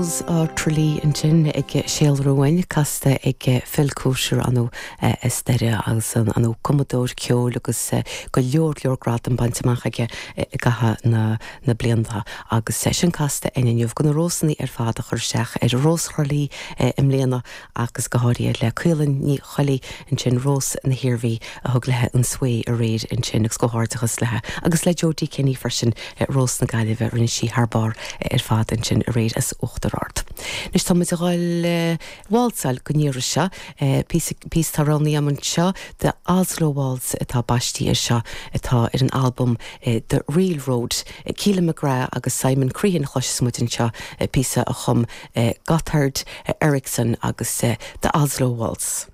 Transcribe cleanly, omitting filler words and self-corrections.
Rose of Tralee ansin ag síolrú uainn, casta ag Phil Coulter ar ndóigh as Doire agus ar ndóigh cumadóir ceoil agus go leor leor gradam bainte amach aige i gcaitheamh na na blianta agus sin casta againn inniu do na Rósannaí ar fad a chuir isteach ar Rós Thrá Lí i mbliana agus go háirithe le Caoilinn Ní Choiligh ansin, Rós na hIarmhí a thug léi an svae aréir ansin agus comhghairdeachas léi agus le Jodie Kenny freisin, Rós na Gaillimhe, rinne sí thar barr ar fad ansin aréir as Uachtar Ard. Anois tá muid a dhul válsáil don iarraidh seo, píosa, píosa atá roghnaithe agam anseo, The Oslo Waltz atá baistí air seo atá ar an albam The Reel Road. Keelan McGrath agus Simon Crehan a chloisfeas muid anseo, píosa a chum Gotthard Eriksson agus The Oslo Waltz.